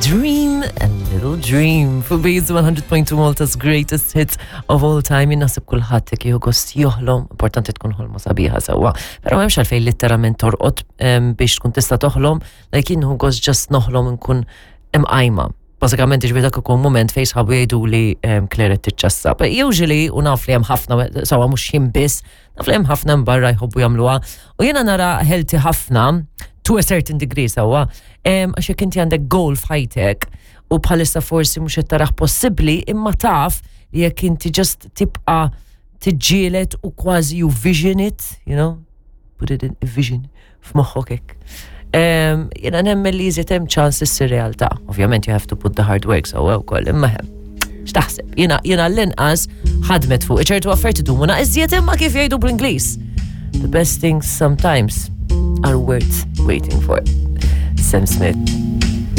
Dream a Little Dream fuq Base 100.2 Malta's greatest hits of all time. Jien naħseb kulħadd jekk jieħu gost joħlom, importanti tkun ħolma sabiħa sewwa. Però m'hemmx għalfejn litteralment torqod biex tkun tista' toħlom, like jien nieħu gost just noħlom nkun imqajma. Bażikament ġifieri dak ikun moment fejn sħabu jgħidu li Claire qed tiċċassa. But usually u naf li hemm ħafna sewwa mhux jien biss, naf li hemm ħafna barra jħobbu jagħmluha. U jiena nara healthy ħafna to a certain degree sewwa, għax jekk inti għandek goal f'ħajtek u bħalissa forsi mhux qed taraħ possibbli, imma taf li jekk inti just tibqa' tiġġieled u kważi you vision it, you know, put it in vision f'moħħok hekk. Jiena nemmen li jżid hemm ċans issir realtà. Ovvjament you have to put the hard work sewwa wkoll, imma hemm. X'taħseb? Jiena jiena l-inqas ħadmet fuq ċertu affarijiet idumu iżjed imma kif jgħidu bl-Ingliż. The best things sometimes are worth waiting for. Sam Smith.